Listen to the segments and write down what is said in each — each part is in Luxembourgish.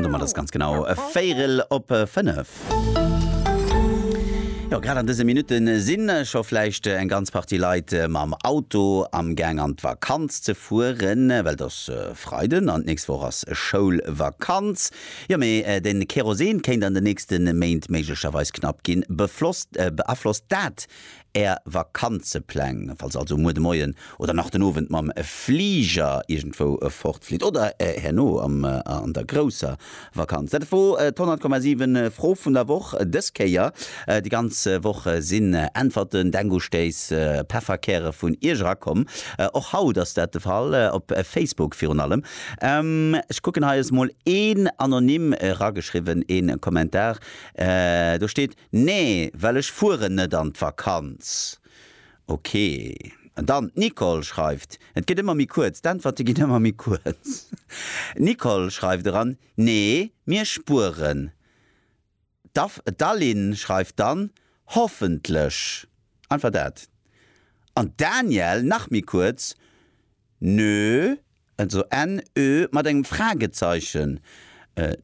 Domat ass ganz genau véierel op 5. Jo, grad an dëse Minutte si scho vläicht eng ganz Partie Leit mam Auto am Gaang an d'Vakanz ze fueren, well et ass Freiden an d'nächst Woch ass Schoulvakanz. Jo, mee de Kerosin kéint an den nächste Méint méiglecherweis knapp ginn. Beaflosst dat Är Vakanzepläng, falls also muer de Moien oder nach den Owend mam Fliger iergendwou fortflitt oder herno an der grousser Vakanz. Dat wor d'100,7 Fro vun der Woch dës Kéier. Déi ganz Woch sinn Äntwerten, Denkustéiss, Pefferkäre vun Iech erakomm. Och haut ass dat de Fall, op Facebook virun allem. Ech kucken, hei ass mol een anonym erageschriwwen, een Kommentar. Do steet, Nee, well ech fueren net an d'Vakanz. Ok. An dann d'Nicole schreift, et gëtt ëmmer méi kuerz, d'Äntwerte ginn ëmmer méi kuerz. D'Nicole schreift eran, Nee, mir spueren. D'Aline schreift dann, Hoffentlech. Einfach dat. An d'Danièle, nach méi kuerz, Nö. Also N-ö mat engem Fragezeichen.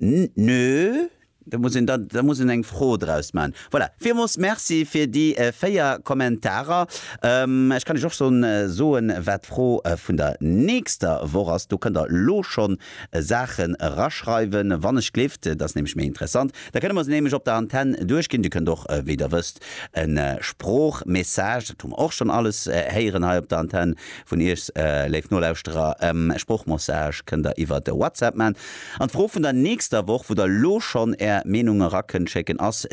Nö, da muss een da muss een eng Fro draus maachen. Voilà, villmools Merci fir déi 4 Kommentarer. Ech kann Iech och schonn soen, wat d'Fro vun der nächster Woch ass. Do kënnt der elo schonn Saachen eraschreiwen, wann ech gleeft. Dat ass nämlech méi interessant. Da kënne mer se nämlech op der Antenn duerchginn. Dir kënnt och, wéi der wësst, e Sproochmessage, dat hu mer och schonn alles héieren hei op der Antenn, Vun Iech, léif Nolauschterer, Sproochmassage kënnt der iwwert WhatsApp man. An d'Fro vun der nächster Woch, wou der lo schonn är Meenung era kënnt schécken, ass.